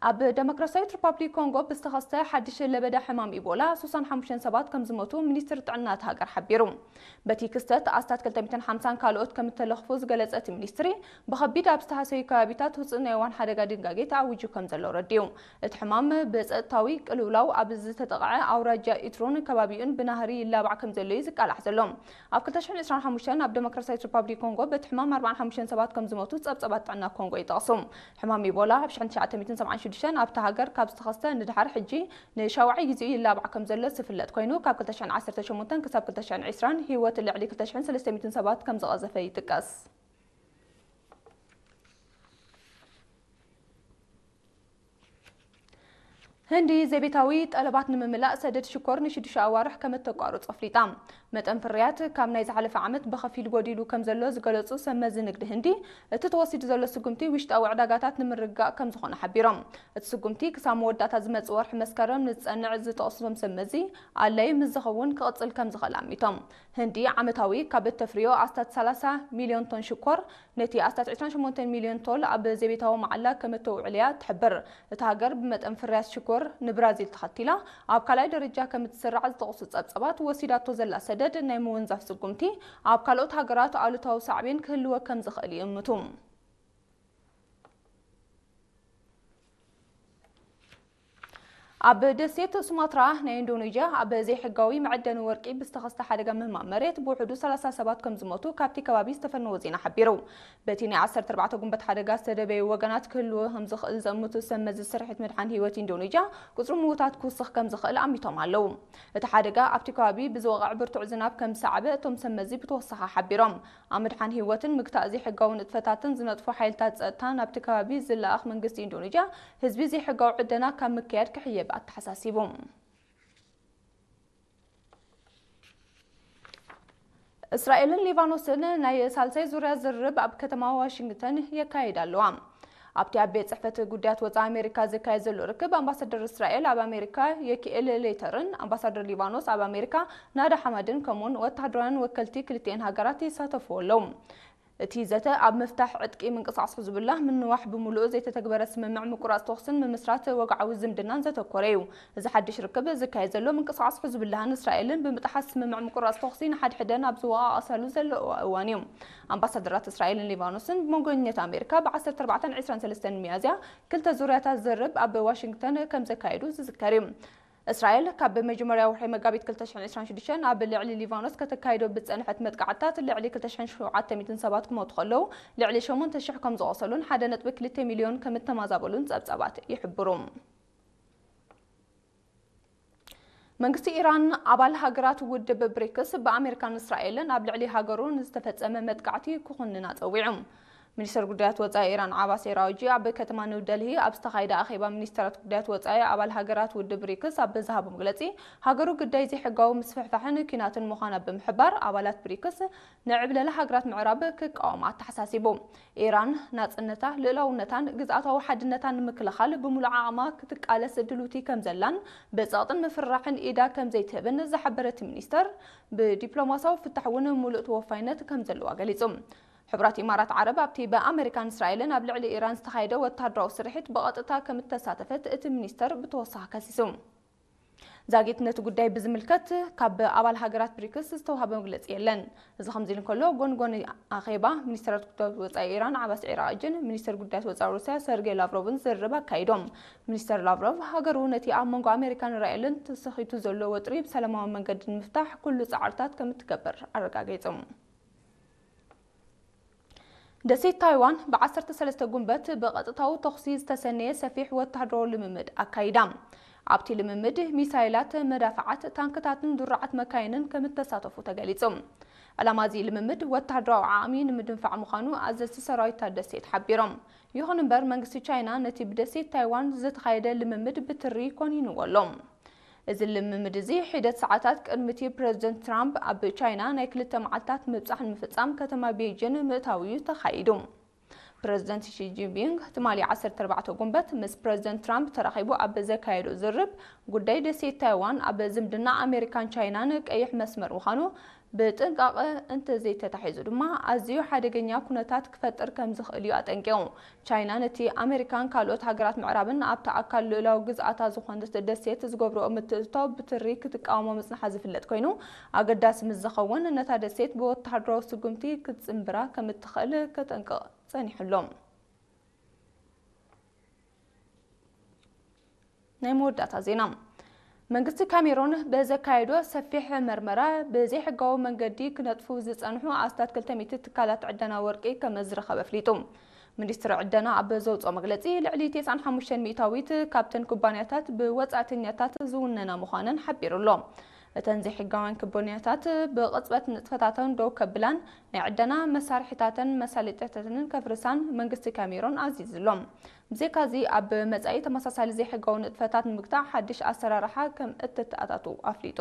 ኣብ ደሞክራሲያዊት ሪፓብሊክ ኮንጎ ብዝተኸስተ ሓድሽ ለበዳ ሕማም ኢቦላ ሱሳን ሓሙሽተን ሰባት ከም ዝሞቱ ሚኒስትሪ ጥዕና እቲ ሃገር ሓቢሩ። በቲ ክስተት ኣስታት ክልተ ሚእትን ሓምሳን ካልኦት ከም እተለኽፉ ዝገለጸ እቲ ሚኒስትሪ፣ ብኸቢድ ኣብ ዝተሃሰዩ ከባቢታት ውጹእ ናይ እዋን ሓደጋ ድንጋጌ ተኣዊጁ ከም ዘሎ ረዲኡ። እቲ ሕማም ብጸጥታዊ ቅልውላው ኣብ ዝተጠቕዐ ኣውራጃ ኢትሮን ከባቢኡን ብናህሪ ይላባዕ ከም ዘሎ እዩ ዝቃላዕ ዘሎ። ኣብ ክልተ ሽሕን ዕስራን ሓሙሽተን ኣብ ደሞክራሲያዊት ሪፓብሊክ ኮንጎ በቲ ሕማም ኣርባዓን ሓሙሽተን ሰባት ከም ዝሞቱ ጸብጸባት ጥዕና ኮንጎ ይጠቕሱ። ሕማም ኢቦላ ኣብ ሽሕን ትሽዓተ ሚእትን ሰብዓን ሽዱሽተን ኣብታ ሃገር ካብ ዝተኸስተ ንድሓር ሕጂ ንሻውዓይ ግዜኡ ይላባዕ ከም ዘሎ ዝፍለጥ ኮይኑ፣ ካብ ክልተ ሽሕን ዓሰርተ ሸሞንተን ክሳብ ክልተ ሽሕን ዕስራን ህይወት ልዕሊ ክልተ ሽሕን ሰለስተ ሚእትን ሰባት ከም ዝቐዘፈ ይጥቀስ። ህንዲ ዘቤታዊ ጠለባት ንምምላእ ሰደድ ሽኮር ንሽዱሽተ ኣዋርሕ ከም እተቋርጾ ኣፍሊጣ። መጠን ፍርያት ካብ ናይ ዝሓለፈ ዓመት ብኸፊል ጎዲሉ ከም ዘሎ ዝገለጹ ሰብ መዚ ንግዲ ህንዲ፣ እቲ ተወሲዱ ዘሎ ስጉምቲ ውሽጣዊ ዕዳጋታት ንምርግጋእ ከም ዝኾነ ሓቢሮም። እቲ ስጉምቲ ክሳብ መወዳእታ ዝመጽእ ወርሒ መስከረም ንዝጸንዕ ዝጠቕሱ እቶም ሰብ መዚ፣ ኣድላዪ ምስ ዝኸውን ክቕጽል ከም ዝኽእል ኣሚቶም። ህንዲ ዓመታዊ ካብ እተፍርዮ ኣስታት ሰላሳ ሚልዮን ቶን ሽኮር፣ ነቲ ኣስታት ዕስራን ሸሞንተን ሚልዮን ቶል ኣብ ዘቤታዊ መዓላ ከም እተውዕል እያ ትሕብር። እታ ሃገር ብመጠን ፍርያት ሽኮር ንብራዚል ተኸቲላ ኣብ ካልኣይ ደረጃ ከም እትስራዕ ዝጠቕሱ ጸብጸባት፣ ወሲዳቶ ዘላ ሰደድ ናይ ምውንዛፍ ስጉምቲ ኣብ ካልኦት ሃገራት ኣሉታዊ ሳዕቤን ክህልዎ ከም ዝኽእል ይእምቱ። ኣብ ደሴት ሱማትራ ናይ ኢንዶኔዥያ ኣብ ዘይሕጋዊ መዐደኒ ወርቂ ብዝተኸስተ ሓደጋ ምህማም መሬት ብውሕዱ ሰላሳ ሰባት ከም ዝሞቱ ካብቲ ከባቢ ዝተፈነወ ዜና ሓቢሩ። በቲ ናይ ዓሰርተ ኣርባዕተ ጉንበት ሓደጋ ዝተደበዩ ወገናት ክህልዎ ከም ዝኽእል ዘእምቱ ሰብ መዚ ስርሒት ምድሓን ህይወት ኢንዶኔዥያ፣ ቁጽሪ ምዉታት ክውስኽ ከም ዝኽእል ኣሚቶም ኣለዉ። እቲ ሓደጋ ኣብቲ ከባቢ ብዝወቕዕ ብርቱዕ ዝናብ ከም ዝሰዓበ እቶም ሰብ መዚ ብተወሳኺ ሓቢሮም። ኣብ ምድሓን ህይወትን ምግታእ ዘይሕጋዊ ንጥፈታትን ዝነጥፉ ሓይልታት ጸጥታ ናብቲ ከባቢ ዝለኣኽ መንግስቲ ኢንዶኔዥያ፣ ህዝቢ ዘይሕጋዊ ዕደና ካብ ምክያድ ክሕየብ ኣተሓሳሲቡ። እስራኤልን ሊባኖስን ናይ ሳልሳይ ዙርያ ዝርርብ ኣብ ከተማ ዋሽንግተን የካይዳ ኣለዋ። ኣብቲ ኣብ ቤት ጽሕፈት ጉዳያት ወጻኢ ኣሜሪካ ዝካየድ ዘሎ ርክብ፣ ኣምባሳደር እስራኤል ኣብ ኣሜሪካ የኪኤል ሌተርን ኣምባሳደር ሊባኖስ ኣብ ኣሜሪካ ናዳ ሓማድን ከምኡውን ወተሃደራውያን ወከልቲ ክልቲኤን ሃገራት ይሳተፉ ኣለዉ። እቲ ዘተ ኣብ ምፍታሕ ዕጥቂ ምንቅስቓስ ሕዝቡላህ፣ ምንዋሕ ብምሉኡ ዘይተተግበረ ስምምዕ ምቁራጽ ተኹስን ምምስራት ወግዓዊ ዝምድናን ዘተኮረ እዩ። እዚ ሓድሽ ርክብ ዝካየድ ዘሎ ምንቅስቓስ ሕዝቡላህን እስራኤልን ብምጥሓስ ስምምዕ ምቁራጽ ተኹሲ ንሓድሕደን ኣብ ዝወቓቐሳሉ ዘለዋ እዋን እዩ። ኣምባሳደራት እስራኤልን ሊባኖስን ብመንጎኝነት ኣሜሪካ ብ ዓሰርተ ኣርባዕተን ዕስራን ሰለስተን ሚያዝያ ክልተ ዙርያታት ዝርርብ ኣብ ዋሽንግተን ከም ዘካየዱ ዝዝከር እዩ። እስራኤል ካብ መጀመርያ ወርሒ መጋቢት ክልተ ሽሕን ዕስራን ሽዱሽተን ኣብ ልዕሊ ሊባኖስ ከተካይዶ ብዝጸንሐት መጥቃዕትታት ልዕሊ ክልተ ሽሕን ሸውዓተ ሚእትን ሰባት ክሞቱ ከለዉ፣ ልዕሊ ሸሞንተ ሽሕ ከም ዝቖሰሉን ሓደ ነጥቢ ክልተ ሚልዮን ከም እተማዛበሉን ጸብጻባት ይሕብሩ። መንግስቲ ኢራን ኣባል ሃገራት ውድብ ብሪክስ ብኣሜሪካን እስራኤልን ኣብ ልዕሊ ሃገሩ ንዝተፈጸመ መጥቃዕቲ ክኹንና ጸዊዑ። ሚኒስተር ጉዳያት ወጻኢ ኢራን ዓባስ ኤራውጂ ኣብ ከተማ ኒው ደልሂ ኣብ ዝተኻየደ ኣኼባ ሚኒስተራት ጉዳያት ወጻኢ ኣባል ሃገራት ውድብ ብሪክስ ኣብ ዝሃቦ መግለጺ፣ ሃገሩ ግዳይ ዘይሕጋዊ ምስፍሕፋሕን ኲናትን ምዃና ብምሕባር፣ ኣባላት ብሪክስ ንዕብለላ ሃገራት ምዕራብ ክቃወማ ኣተሓሳሲቡ። ኢራን ናጽነታ፣ ልኡላውነታን ግዝኣታዊ ሓድነታን ንምክልኻል ብምሉእ ዓቕማ ክትቃለስ ድልውቲ ከም ዘላን ብጸቕጥን ምፍርራሕን ኢዳ ከም ዘይትህብን ዝሓበረ እቲ ሚኒስተር፣ ብዲፕሎማሲያዊ ፍታሕ እውን ምሉእ ተወፋይነት ከም ዘለዋ ገሊጹ። ሕቡራት ኢማራት ዓረብ ኣብቲ ብኣመሪካን እስራኤልን ኣብ ልዕሊ ኢራን ዝተኻየደ ወተሃደራዊ ስርሒት ብቐጥታ ከም እተሳተፈት እቲ ሚኒስተር ብተወሳኺ ከሲሱ። ዛጊት ነቲ ጉዳይ ብዝምልከት ካብ ኣባል ሃገራት ብሪክስ ዝተዋህበ መግለጺ የለን። እዚ ከምዚ ኢሉ እንከሎ፣ ጎንጎን ኣኼባ ሚኒስተራት ጉዳያት ወጻኢ ኢራን ዓባስ ዒራቕጅን ሚኒስተር ጉዳያት ወጻኢ ሩስያ ሰርጌይ ላቭሮቭን ዝርርብ ኣካይዶም። ሚኒስተር ላቭሮቭ፣ ሃገሩ ነቲ ኣብ መንጎ ኣሜሪካን እስራኤልን ተሰኺቱ ዘሎ ወጥሪ ብሰላማዊ መንገዲ ንምፍታሕ ኩሉ ጻዕርታት ከም እትገብር ኣረጋጊጹ። ደሴት ታይዋን ብ ዓሰርተ ሰለስተ ጉንበት ብቐጥታዊ ተኹሲ ዝተሰነየ ሰፊሕ ወተሃደራዊ ልምምድ ኣካይዳ። ኣብቲ ልምምድ፣ ሚሳይላት፣ መዳፍዓት፣ ታንክታትን ድሩዓት መካይንን ከም እተሳተፉ ተገሊጹ። ዕላማ እዚ ልምምድ፣ ወተሃደራዊ ዓቕሚ ንምድንፋዕ ምዃኑ ኣዘዝቲ ሰራዊት እታ ደሴት ሓቢሮም። ይኹን እምበር፣ መንግስቲ ቻይና ነቲ ብደሴት ታይዋን ዝተኻየደ ልምምድ ብትሪ ኮኒንዎ ኣሎ። እዚ ልምምድ እዚ፣ ሒደት ሰዓታት ቅድሚ እቲ ፕረዚደንት ትራምፕ ኣብ ቻይና ናይ ክልተ መዓልታት ምብጻሕ ንምፍጻም ከተማ ቤይጂን ምእታዉ እዩ ተኻይዱ። ፕረዚደንት ሺ ጂንፒንግ ትማሊ ዓሰርተ ኣርባዕተ ጉንበት ምስ ፕረዚደንት ትራምፕ ተራኺቡ ኣብ ዘካየዶ ዝርብ፣ ጉዳይ ደሴት ታይዋን ኣብ ዝምድና ኣሜሪካን ቻይናን ቀይሕ መስመር ምዃኑ ብጥንቃቐ እንተዘይተታሒዙ ድማ ኣዝዩ ሓደገኛ ኩነታት ክፈጥር ከም ዝኽእል እዩ ኣጠንቂቑ። ቻይና ነቲ ኣሜሪካን ካልኦት ሃገራት ምዕራብን ኣብታ ኣካል ልኡላዊ ግዝኣታ ዝኾነት ደሴት ዝገብርኦ ምትእትታው ብትሪ ክትቃወሞ ምጽንሓ ዝፍለጥ ኮይኑ፣ ኣገዳሲ ምስ ዝኸውን ነታ ደሴት ብወተሃደራዊ ስጉምቲ ክትጽንብራ ከም እትኽእል ከጠንቅቕ ጸኒሑ ኣሎ። ናይ መወዳእታ ዜና። መንግስቲ ካሜሮን ብዘካየዶ ሰፊሕ መርመራ ብዘይሕጋዊ መንገዲ ክነጥፉ ዝጸንሑ ኣስታት ክልተ ሚእቲ ትካላት ዕደና ወርቂ ከም ዝረኸበ ኣፍሊጡ። ሚኒስትሪ ዕደና ኣብ ዘውፅኦ መግለፂ፣ ልዕሊ ተስዓን ሓሙሽተን ሚእታዊት ካብተን ኩባንያታት ብወፃእተኛታት ዝውነና ምዃነን ሓቢሩ ኣሎ። እተን ዘይሕጋውያን ኩባንያታት ብቕፅበት ንጥፈታተን ደው ከብላን ናይ ዕደና መሳርሒታተን መሳለጥያታተንን ከፍርሳን መንግስቲ ካሜሮን ኣዚዙ ኣሎ። ብዘይካዚ ኣብ መጻኢ ተመሳሳሊ ዘይሕጋዊ ንጥፈታት ንምግታእ ሓድሽ ኣሰራርሓ ከም እተተኣታቱ ኣፍሊጡ።